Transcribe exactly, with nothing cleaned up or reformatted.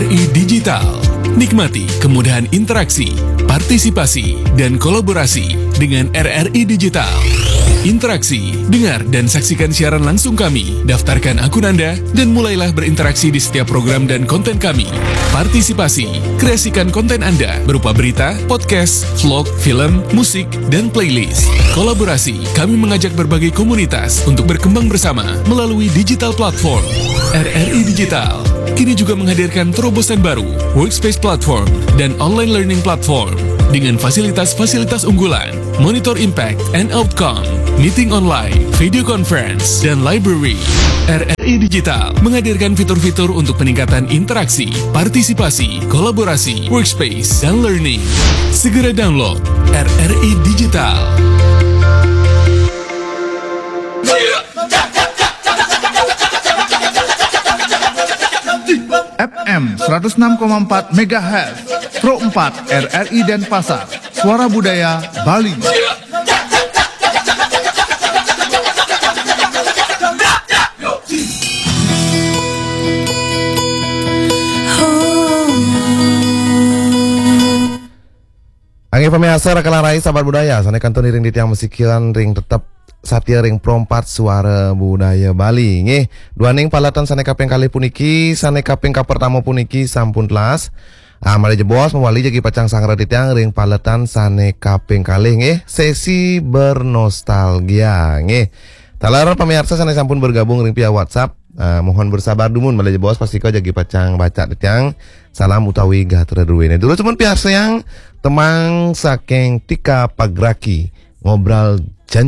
I Digital. Nikmati kemudahan interaksi, partisipasi, dan kolaborasi dengan R R I Digital. Interaksi, dengar dan saksikan siaran langsung kami. Daftarkan akun Anda dan mulailah berinteraksi di setiap program dan konten kami. Partisipasi, kreasikan konten Anda berupa berita, podcast, vlog, film, musik, dan playlist. Kolaborasi, kami mengajak berbagai komunitas untuk berkembang bersama melalui digital platform. R R I Digital kini juga menghadirkan terobosan baru, Workspace Platform dan Online Learning Platform dengan fasilitas-fasilitas unggulan, Monitor Impact and Outcome, Meeting Online, Video Conference, dan Library. R R I Digital menghadirkan fitur-fitur untuk peningkatan interaksi, partisipasi, kolaborasi, workspace, dan learning. Segera download R R I Digital. F M seratus enam koma empat megahertz, Pro empat R R I Denpasar, Suara Budaya Bali. Angge pamiarsa Rakalarai Sahabat Budaya, sané kantun iring titiang masikian ring tetep satia ring Pro empat Suara Budaya Bali. Nggih, duaning paletan sané kaping kalih puniki, sané kaping kapertama puniki sampun telas. Ah, malih jebos mawali jagi pacang sangra titiang ring paletan sané kaping kalih nggih, sesi bernostalgia nggih. Taler pamiarsa sané sampun bergabung ring via WhatsApp, ah, mohon bersabar dumun malih jebos pastika jagi pacang baca titiang salam utawi gatra druéné. Durus pun piarsayang tembang saking Tika Pagraki, Ngobrol Janji.